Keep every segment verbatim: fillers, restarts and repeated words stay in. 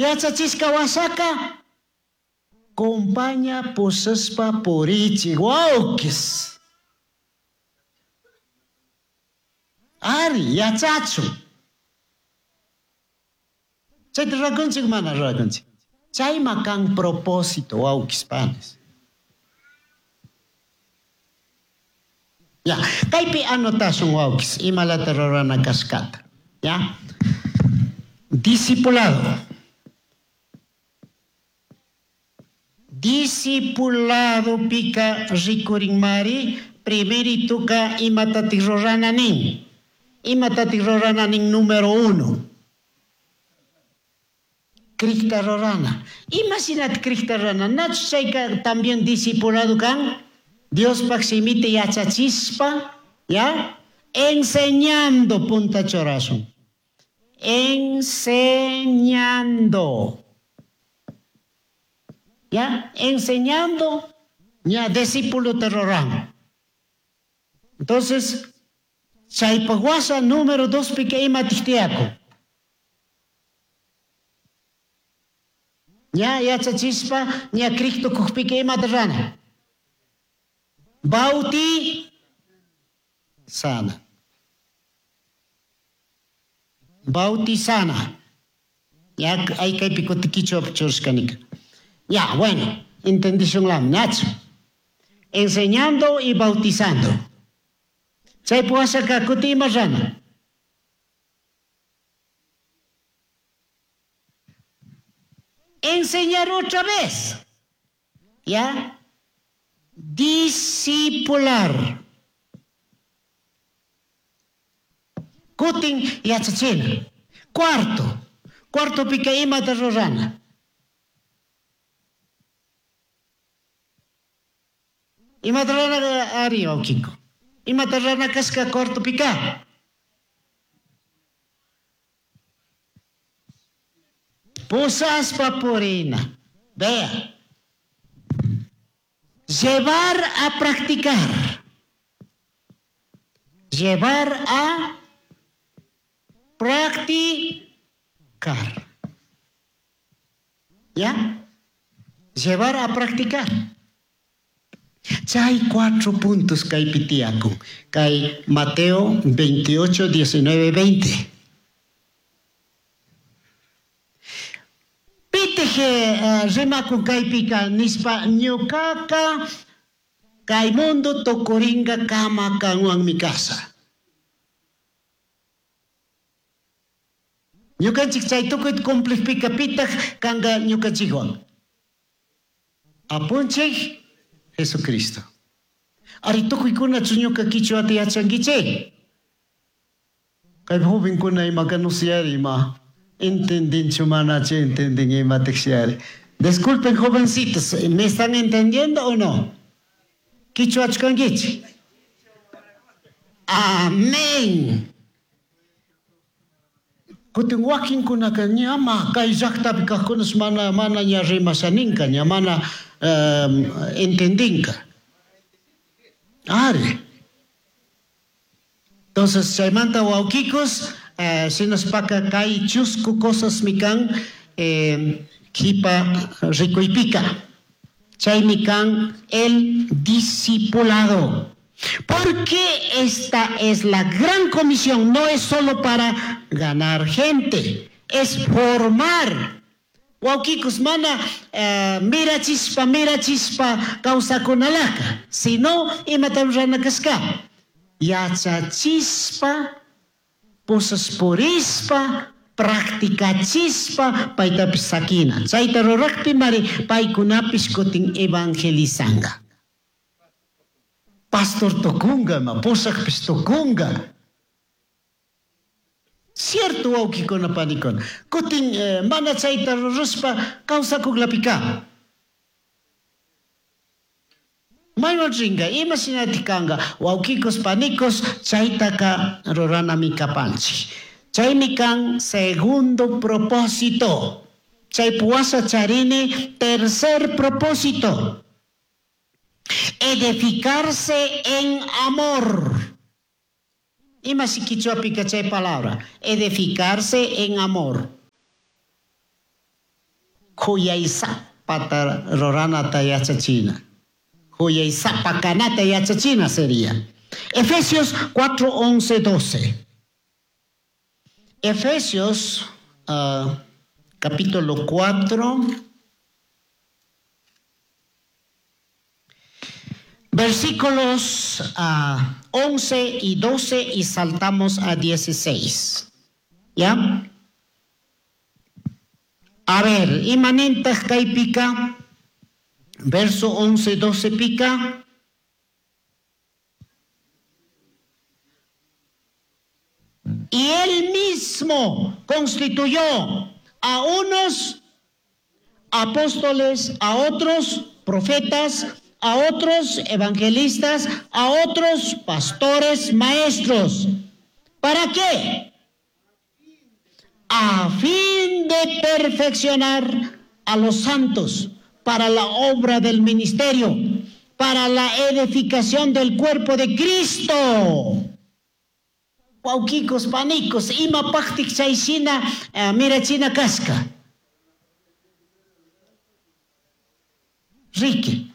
Yachachishka wasaka compaña pusaspa purichi wawkis. Ari, yachachun. Chayta rurakunchik mana rurakunchik. Chayma kan propósito wawkis panis. Ya, kaypi anotashun wawkis imalata rurana kashkata. Ya. Discipulado. Discipulado pika rikurinmari primerituka imatati rurana nin. Imatati rurana nin número uno. Krikta rurana. Imashinat krikta rurana. Nachu chayka también discipulado kan. Diospaj simita yachachispa, ya, enseñando punta churasun. Enseñando. Ya, enseñando, ya, discípulo te ruran. Entonces, chaypaj wasa número dos pika ima tijtiaku. Ya, yachachispa, ya, Cristo kujpika ima rana. Bauti sana. Bautizana. Ya, hay que picotiquicho churskanika. Ya, bueno, entendí un nacho. Enseñando y bautizando. Chay puasaka kuti ima rana. Enseñar otra vez. Ya. Discipular. Kutin yachachina. Cuarto. Cuarto pika imata rurana. Imata rurana ari wawkiko. Imata rurana kashka cuarto pika. Pusaspa purina. Vea. Llevar a practicar. Llevar a practicar. ¿Ya? Llevar a practicar. Chay cuatro puntos kaypi tiyakun. Kay Mateo veintiocho, diecinueve, veinte. Pitije rimakun kaypika nispa ñukaka kay mundo tukuringa kama kanwan mi casa. Ñukanchik chay tukuy cumplipika pitaj kanga ñukanchikwan. Apunchik Jesucristo. Ari tukuykunachu ñuka kichwata yachankichik. Kay jovenkuna imaka no siyari ima. Entendinchu manachu entendin imatik siyari. Disculpen jovencitos, ¿me están entendiendo o no? Kichwachu kankichik. Amén. Kutin wakinkunaka ñama kay llaqtapi kaqkunas mana mana ña rimashaninka, ña mana um, entendinka. Ari. Entonces chaymanta wawkikos, eh, sinaspaka kay chusku cosas mikan eh, kipa rikuypika. Chaymi kan el discipulado. Porque esta es la gran comisión, no es solo para ganar gente, es formar. Wawkikus mana eh, mira chispa, mira chispa kawsakunalaka, sino imata rurana kashka. Yachachispa, pusasporispa, practicachispa, paytapis sakina. Chayta rurakpi mari paykunapis kutin evangelizanga. Pastor tukunga, ma pusakpis tukunga. Cierto wawkikuna panikuna. Kutin eh, mana chayta rurashpa kawsakuklapika. Mayman ringa, ima shinati kanga, wawkikos panikos chaytaka ruranami kapanchik. Chaymi kan segundo propósito. Chay puwasa charini tercer propósito. Edificarse en amor. Ima si kichwapi chay palabra. Edificarse en amor. Huyaysapata ruranata yachachina. Huyaysapa kanata yachachina sería. Efesios cuatro, once, doce. Efesios uh, capítulo cuatro, versículos uh, once y doce y saltamos a dieciséis. ¿Ya? A ver, imanintaq kaypika, verso once, doce pica. Y él mismo constituyó a unos apóstoles, a otros profetas, a otros evangelistas, a otros pastores, maestros. ¿Para qué? A fin de perfeccionar a los santos para la obra del ministerio, para la edificación del cuerpo de Cristo. Wawkikos, panikos, ima paktik chayshina, eh, mirachina kashka. Riki,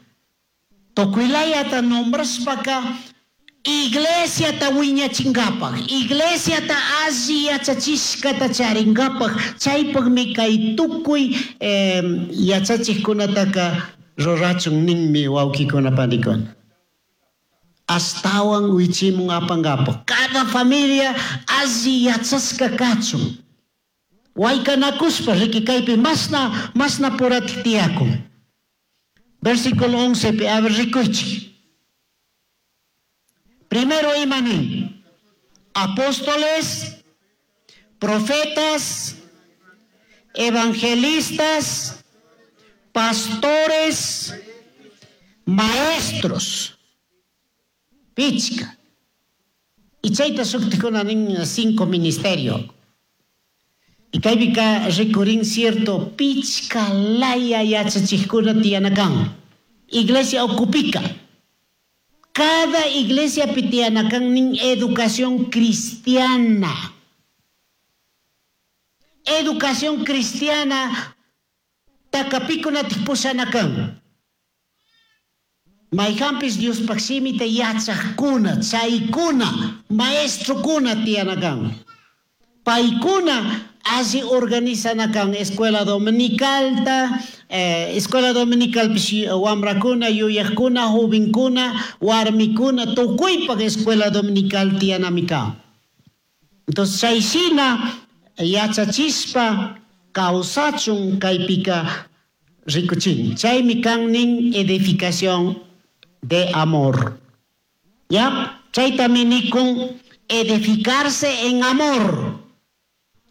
tukuylayata nombrashpaka, iglesiata wiñachinkapak, iglesiata alli yachachishkata charinkapak, chaypakmi kay tukuy, eh, yachachikkunataka rurachun ninmi wawkikuna panikuna. Astawan wichimun apankapak. Cada familia alli yachashka kachun. Waykanakushpa riki kaypi masna, masna puratik tiyakun. Versículo once, a ver, rikuychik. Primero imanin, apóstoles, profetas, evangelistas, pastores, maestros. Pichka. Y chayta shuktikuna nin cinco ministerio. Y kaypika rikurin cierto pichka laya yachachikuna tiyanakan. Iglesia okupika. Cada iglesia pitiyanakan nin educación cristiana. Educación cristiana takapikuna tikpushanakan. Mayhampis Diospaq shimita yachaqkuna, chaykuna, maestrokuna tiyanakan. Paykuna alli organizanakan escuela dominicalta, eh, escuela dominical pish wamrakuna, yuyaqkuna, jovenkuna, warmikuna, tukuypaq escuela dominical tiyanamikan. Entonces chayshina yachachispa kawsachun kaypika rikuchin. Chaymi kan nin edificación de amor. ¿Ya? Chaytami nikun edificarse en amor,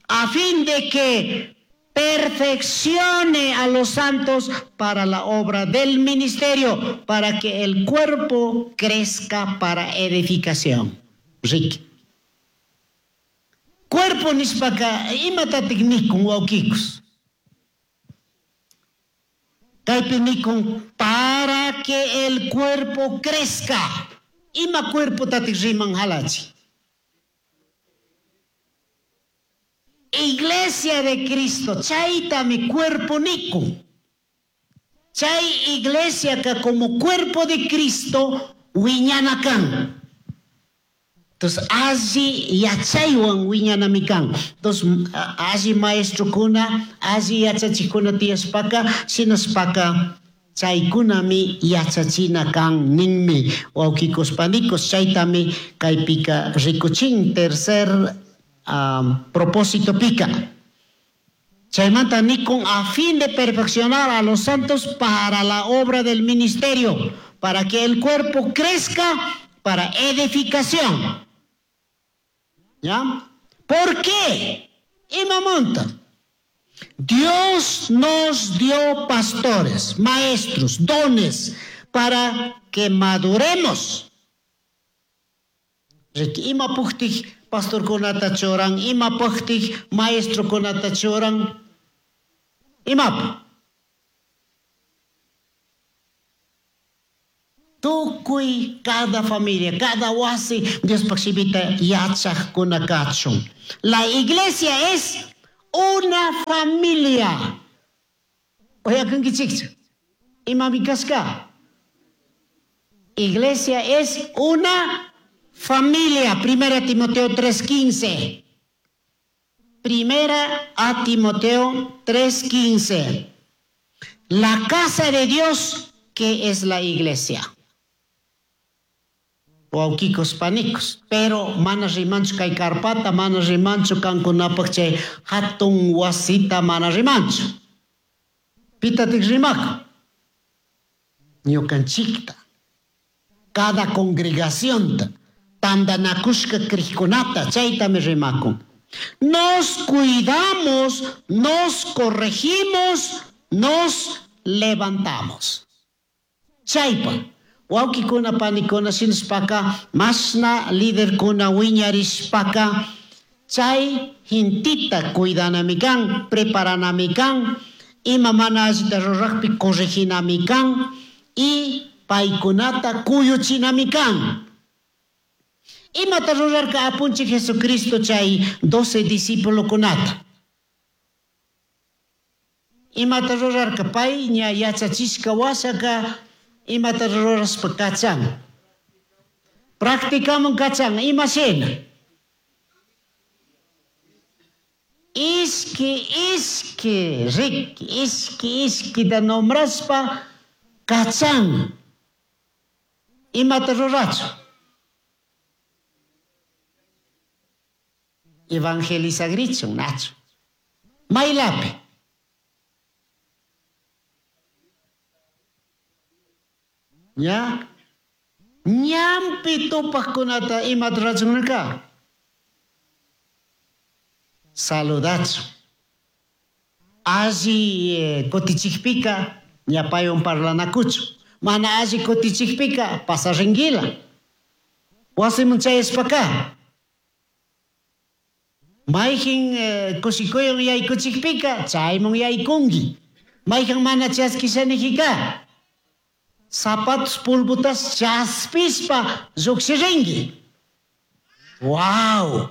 a fin de que perfeccione a los santos para la obra del ministerio, para que el cuerpo crezca para edificación. Ricky. Cuerpo nispaka imatatik nikun wawkikus. Kaypi nikun para que el cuerpo crezca. Ima cuerpo tatik riman halachi. Iglesia de Cristo, chayta mi cuerpo nikun. Chay iglesia que como cuerpo de Cristo wiñanakan. Entonces, allí yachaywan wiñanamikan. Entonces, allí maestrokuna, allí yachachikuna tiyaspaka, sinaspaka, chaykunami yachachina kan ninmi. Wawkikos panikos, chaytami kaypika rikuchin, tercer, um, propósito pica. Chaymanta nikun a fin de perfeccionar a los santos para la obra del ministerio, para que el cuerpo crezca para edificación. ¿Ya? ¿Por qué? Imamonta. Dios nos dio pastores, maestros, dones, para que maduremos. Ima puktik pastor kunata choran, ima puktik maestro kunata choran. Imap. Tukuy cada familia, cada wasi, Dios pakshibita yachaj kunakachun. La iglesia es una familia. Uyakunkichikchu. Imami kashka. Iglesia es una familia. Primera Timoteo tres quince. Primera a Timoteo tres quince. La casa de Dios, que es la iglesia. Wawkikos panikos. Pero mana rimanchu kay karpata, mana rimanchu kankunapaq chay hatun wasita, mana rimanchu. Pitatik rimako. Ñukanchikta. Cada congregación tandanakushka kriykunata, chaytami rimakun. Nos cuidamos, nos corregimos, nos levantamos. Chaypa, wawkikuna panikuna shinashpaka, mashna liderkuna wiñarishpaka, chay gentita cuidanami kan, preparanami kan, ima mana allita rurajpi correginami kan, y paykunata kuyuchinami kan. Imata rurarka apunchik Jesucristo chay doce discípulokunata. Imata rurarka pay ña yachachishka wasaka, imata ruraspa kachan. Practicamun kachan, ima shina. Ishki, ishki, riki, ishki, ishki da nombraspa kachan. Imata rurachu. Evangelizagrichun, nachu. Maylapi. ¿Ya? Ñampi tupaqkunata imata rurachunka. Saludachu. Alli eh, kutichikpika ñapaywan parlanakuchu. Mana alli kutichikpika pasaringuila. Wasiman chayashpaka. Mayjin eh, kushikuywan yaykuchikpika chayman yaykunki. Mayjin mana chaskishanijika. Zapatos pulbutas chaspispa llukshirinki. Wow!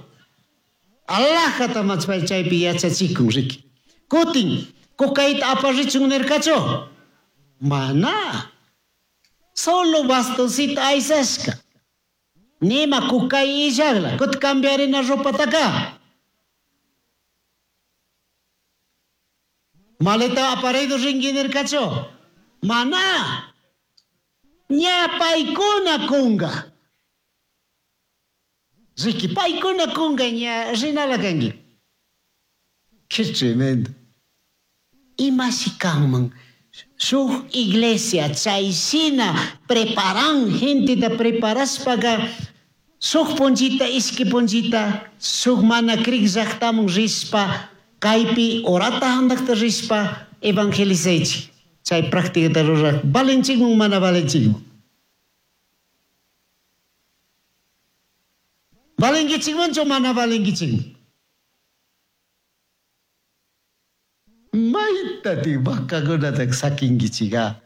Alajata machpay chaypi yachachikun riki. Kutin, kukayta aparichun nirkachu? Mana. Solo bastoncito aysashka. Nima kukay illagla. Kut cambiarina ropataka. Maleta aparedo rinki nirkachu? Mana. Ña paykuna kunga. Riki paykuna kunga ña rinala kanki. Qué tremendo. Imashi kanman. Shuk iglesia chayshina preparan genteta preparashpaga shuk punchita ishki punchita shuk mana krik llaqtaman rishpa kaypi orata handakta rishpa evangelizaychik. Chay práctica ruraq valenchikman mana valenchikman. Valenkichikmanchu mana valenkichikman. Maytati vacakunata sakinkichika.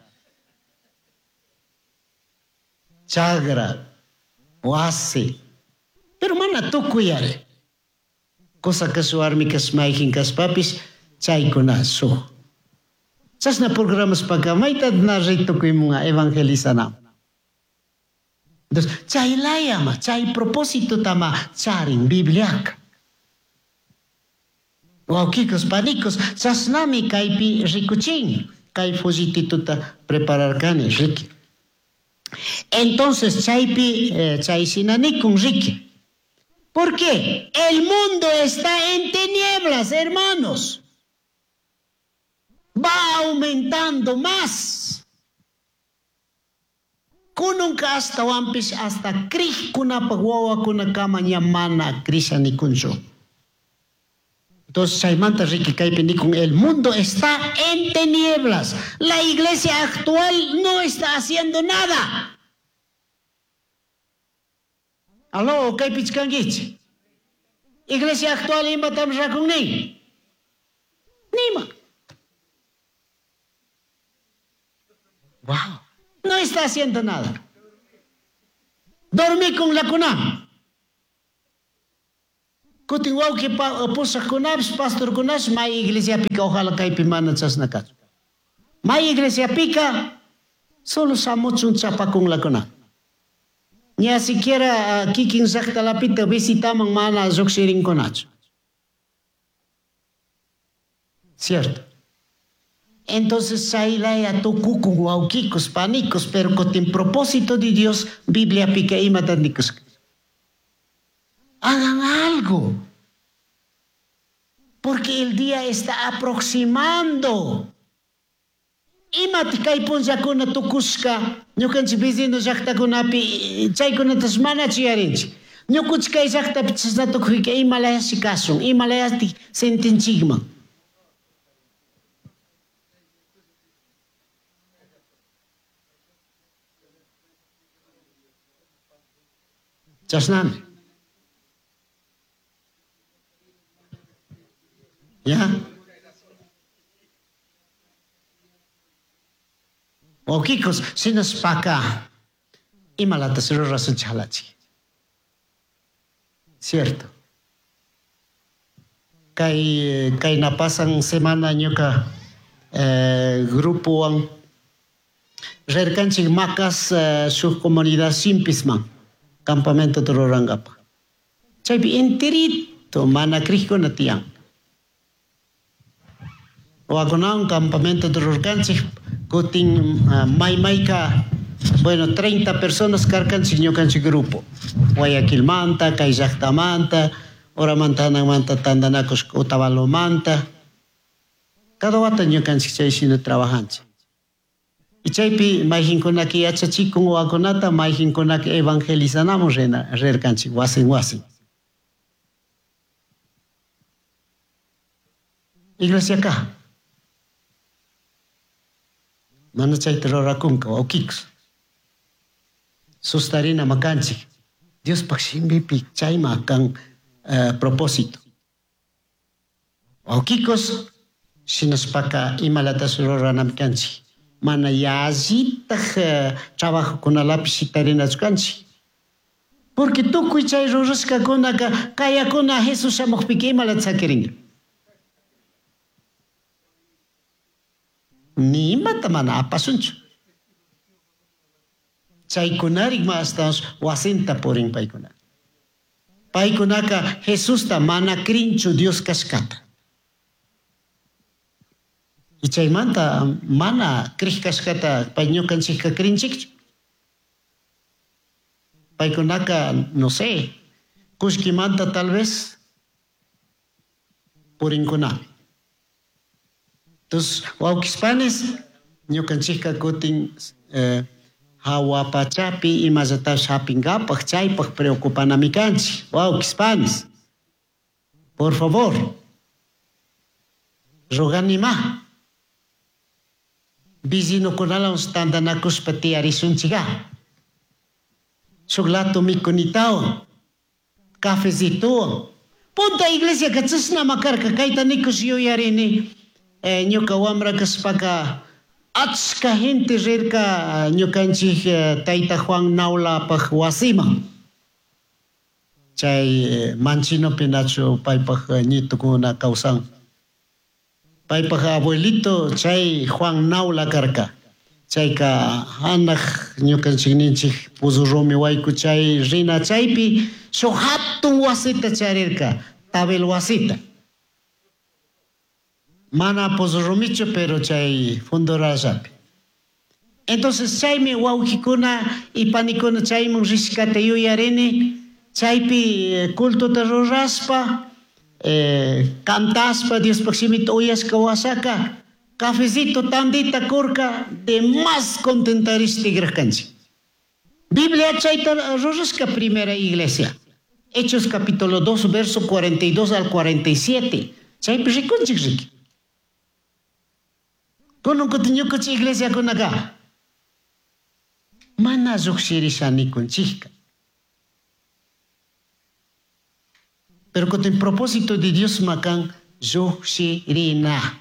Chagra, wasi. Pero mana tukuyare. Cosa kash warmi kash mayjin kashpapis chaykuna shuk. Chashna programas paka mayta na ri tukuymunga evangelizana. Entonces, chay layama, chay propósito tama charin Bibliaka. Wawkikos, panikos, chashnami kaypi rikuchin, kay follitituta prepararkani, riki. Entonces, chaypi, eh, chay shinanikun, riki. ¿Por qué? El mundo está en tinieblas, hermanos. Va aumentando más. Kununka hasta wampis hasta krishkunapaq wawakunakama ña mana krishanikunchu. Entonces, chaymanta riki kaypi nikun, el mundo está en tinieblas. La iglesia actual no está haciendo nada. Aló, kaypi chkankichik. Iglesia actual imatam rakunnin. Nima. Wow. No está haciendo nada. Dormí con la cuna. Kutin wawqi pusaqkunapish, pastorkunapish, may iglesia pika ojalá kaypi mana chashna kachun. May iglesiapika solo shamuchun chapakunlakuna. Ña siquiera uh, kikin llaqtalapita visitaman mana lluqshirinkunachu. Cierto. Entonces chaylaya tukukun wawqikus, panikus, pero kutin propósito de Dios Bibliapika imata nikushka. Hagan algo. Porque el día está aproximando. Imata kay punllakuna tukushka ñukanchik vecino llaqtakunapi chaykunatas manachu yuyarinchik. Ñukunchik kay llaqtapi chashna tukuyka imalayashi kashun, imalayashi sentinchikman. Chashnami. ¿Ya? Wawqikus, shinashpaka imalatas rurasunchik halachik. Cierto. Kay kayna pasan semana ñuka eh, grupowan rirkanchik Macas eh, shuk comunidad Simpisman campamento rurankapa. Chaypi enterito mana crikuna tiyan. Wakunawan campamento rurkanchik kutin uh, maymayka bueno treinta personas karkanchik ñukanchik grupo. Guayaquilmanta, kay llaqtamanta, Uramanta hanaqmanta tantanakushka Otavaloamanta. Cada wata ñukanchik chay shina trabajanchik. Y chaypi mayqinkunaka yachachikun wawakunata, mayqinkunaka evangelizanamun rina rirkanchik wasin wasin. Iglesiaka mana chayta rurakunka wawqikus. Sustarina makanchik. Diospaq shimipi chayma kan uh, propósito. Wawqikus shinashpaka imalatas ruranami kanchik. Mana yallitaq uh, trabajokunalapi shitarinachu kanchik. Porque tukuy chay rurashkakunaka kayakuna Jesús shamuqpika imalata sakirinka. Ni imata mana apasunchu. Chaykunarik ma ashtawansh wasinta purin paykuna. Paykunaka Jesusta mana crinchu Dios kashkata. Y chaymanta mana crij kashkata pay ñukanchikka crinchikchu. Paykunaka, no sé, kullkimanta tal vez purinkunami. Entonces, wawqispanis ñukanchikka kutin eh, hawa pachapi imallatash hapingapaj chaypaj preocupanami kanchik. Wawqispanis, por favor, roganima. Vecinokunawan tantanakushpa tiyarishunchika. Shuk lato mikunitawan, cafecitowan. Punta iglesia chashnama karka kayta nikush yuyarini. Eh, ñuka wamra kashpaka achka gente rirka ñukanchik eh, tayta Juan Naulapaj wasiman. Chay eh, Manchinopi nachu paypaj ñitukuna kawsan. Paypaj abuelito chay Juan Naula karka. Chayka hanaq ñukanchik ninchik Pozo Rumi wayku chay rina chaypi shuk hatun wasita charirka, tabel wasita. Mana Pozo Rumichu, pero chay Fundorashapi. Entonces chaymi wawqikuna y panikuna chayman rishkata yuyarini, chaypi cultota ruraspa, eh, cantaspa Diospaj shimita uyashka wasaka, cafecito tandita kurka, de más contentarish tigrarkanchik. Biblia chayta rurashka primera iglesia. Hechos capítulo dos, verso cuarenta y dos al cuarenta y siete. Chaypi rikunchik riki. Kunan kutin ñukanchik iglesiakunaka mana llukshirisha nikunchikka. Pero kutin propósito de Dios makan llukshirina.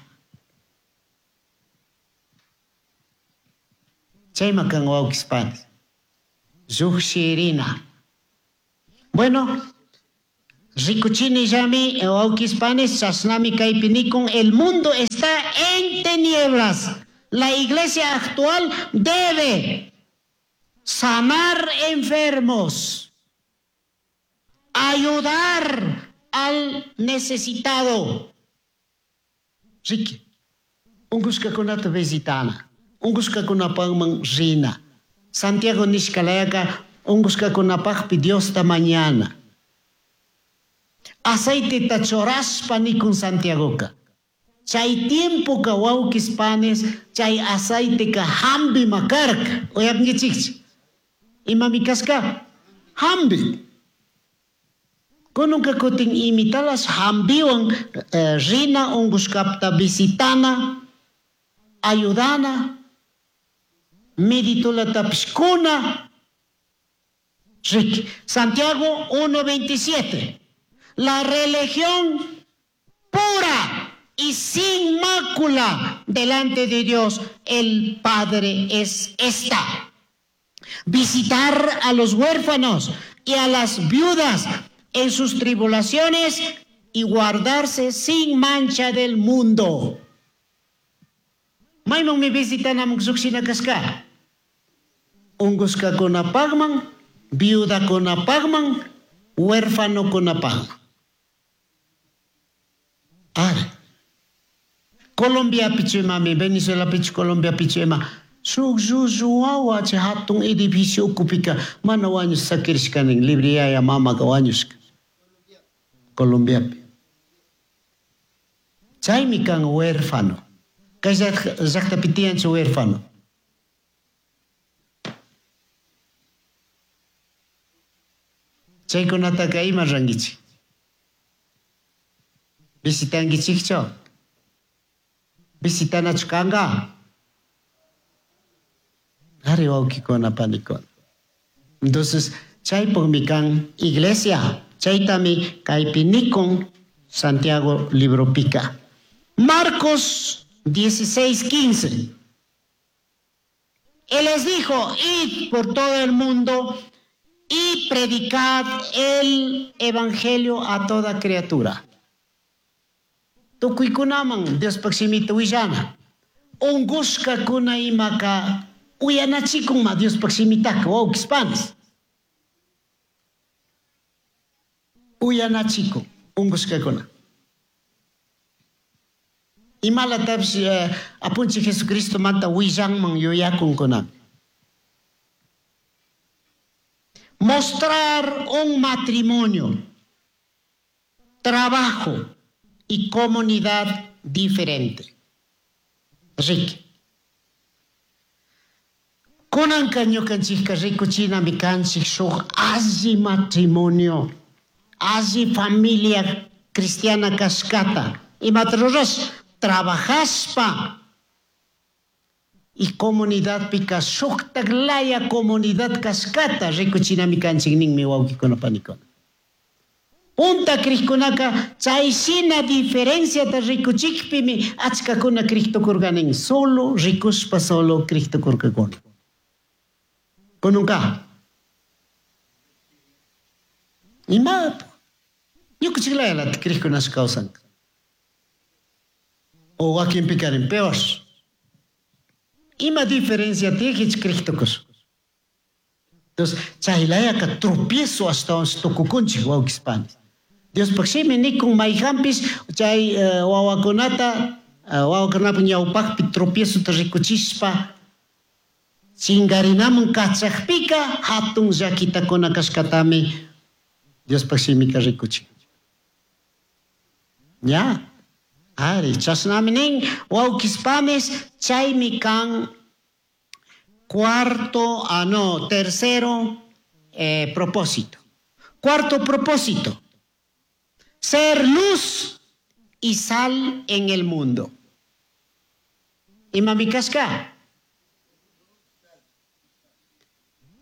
Chay makan wawqispanis. Llukshirina. Bueno, rikuchini llami wawqispanis chashnami kaypi nikun el mundo está en tinieblas. La iglesia actual debe sanar enfermos, ayudar al necesitado. Riqui, ungushkakunata visitana, ungushkakunapajman rina. Santiago nishkalayaka ungushkakunapajpi Diosta mañana. Aceiteta churashpa nikun Santiagoka. Chay tiempoka wawkis panes, chay aceiteka hambima karka. Uyarinkichikchu? Imami kashka? Hambi. Kununka kutin imitalas hambiwan eh, rina ungushkapta visitana, ayudana, meditulatapish kuna. Riqui. Santiago uno veintisiete. La religión pura y sin mácula delante de Dios el Padre es esta: visitar a los huérfanos y a las viudas en sus tribulaciones y guardarse sin mancha del mundo. Maymanmi visitanaman llujshina kashka. Ungushkakunapajman, viudakunapajman, huérfanokunapajman. Are. Colombia pichu imami, Venezuela pichu, Colombia pichu ima. Shuk llullu wawa chay hatun edificio ukupika mana wañush sakirishkanin, libre yaya mamaka wañushka. Colombiapi. Chaymi kan huérfano. Kay llaqtapi tiyanchu huérfano. Chaykunataka ima rankichik? Visitankichikchu? Visitanachu kanka? Ari wawkikuna panikuna. Entonces, chaypukmi kan iglesia. Chaytami kaypi nikun Santiago libropika. Marcos dieciséis quince. Él les dijo, id por todo el mundo y predicad el evangelio a toda criatura. Tukuykunaman Diospaj shimita willana. Ungushkakuna imaka uyanachikunma Diospaj shimitaka, wawkis panis. Uyanachikun ungushkakuna. Imalatapish, eh, apunchik Jesucristo manta willanman yuyakunkunami. Mostrar un matrimonio, trabajo y comunidad diferente. Riqui. Kunanka ñukanchikka rikuchinami kanchik shuk alli matrimonio, alli familia cristiana kashkata. Imata rurash? Trabajashpa y comunidadpika shuktak laya comunidad kashkata rikuchinami kanchik ninmi wawkikuna panikuna. Punta krikkunaka chay shina diferenciata rikuchikpimi achkakuna kriktukurkanin, solo rikushpa solo kriktukurkakuna. Kununka. Imapu. Ñukuchiklayalata krikkunash kawsanka. O wakinpikarin peor. Ima diferencia tijich kriktukush. Entonces, chaylayaka tropiezo ashtawan tukukunchik wawkis panis. Diospaj shimi nikun mayjanpish chay, eh, wawakunata, eh, wawakunapaj ñawpajpi tropiezota rikuchishpa chingarinaman kachajpika hatun llakitakuna kashkatami Diospaj shimika rikuchin. Ya. Ari, chashnami nin, wawkis panis, chaymi kan cuarto, ah no, tercero, eh, propósito. Cuarto propósito, ser luz y sal en el mundo. Imami kashka?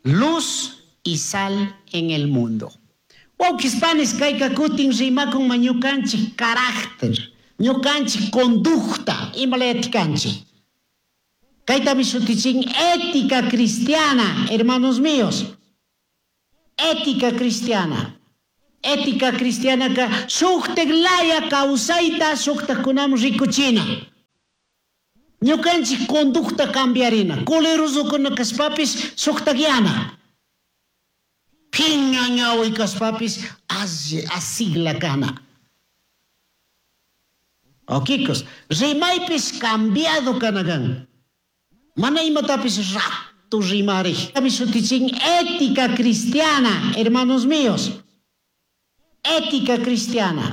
Luz y sal en el mundo. Wawkis panis, kayka kutin rimakun ma ñukanchik carácter, ñukanchik conducta, imalayatikanchik. Kaytami shutichin ética cristiana, hermanos míos. Ética cristiana. Ética cristiana ka shuktek laya kawsayta shuktakunam rikuchina. Ñukanchik conducta cambiarina. Colerosokuna kashpapis shuktakyana. Phiña ñawi kashpapis asigla kana. Okikos, rimaypis cambiado kanakan. Mana imatapis rato rimarik. Shutichin ética cristiana, hermanos míos. Ética cristiana.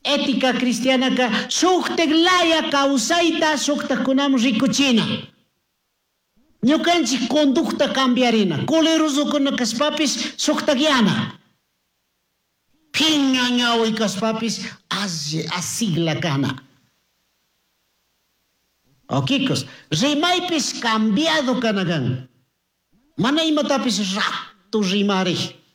Ética cristiana ka shuktak laya kawsayta shuktakkunaman rikuchina. Ñukanchik conducta cambiarina. Colerosokuna kashpapis shuktakyana. Phiña ñawi kashpapis asigla kana. Okikos, rimaypis cambiado kanakan. Mana imatapis rato rimarik.